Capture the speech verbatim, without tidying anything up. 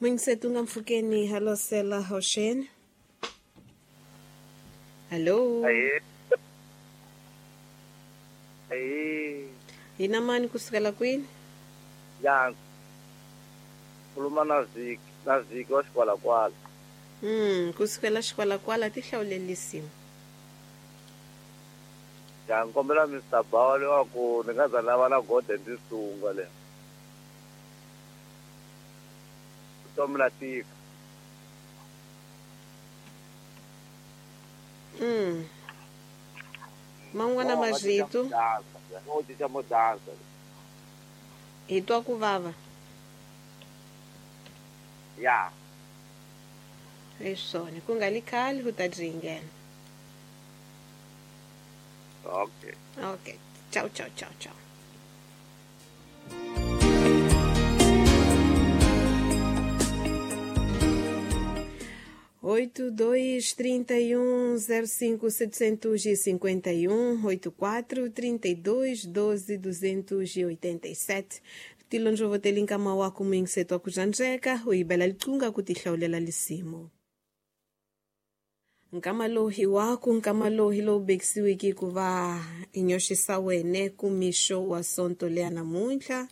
Mwingisetu nga mpfhukeni halosela hoxeni. Hallo. Ahee. Ahee. Hina mani kusukela kwini? Ya. Khuluma na Ziki, na Ziki wa Xikwalakwala. Mm, kusukela Xikwalakwala ti hlawulelisiwa. Ya nkombela Mister Bawa leswaku ni nga za lava na Golden Tisunga le. Vutomi la tika. Mm. Man'wana marito. No cinca mo dansa. Hi twa ku vava. Ya. Hi swona, ku nga li khale u ta dyi nghena. Okay. Okay. Ciao, ciao, ciao, ciao. Oito, dois, trinta e um, zero cinco, setecentos e cinquenta e um, oito, quatro, trinta e dois, doze, duzentos e oitenta e sete. Tilonjo votelinka mawaku mwingiseto wa kujanjeka uibela liqunga kutihlawulela lisimo. Nkama lowu hi waku nkama lowu hi lowu bekisiwiki ku va hi nyoxisa wene ku mixo wa sonto leya namuntlha.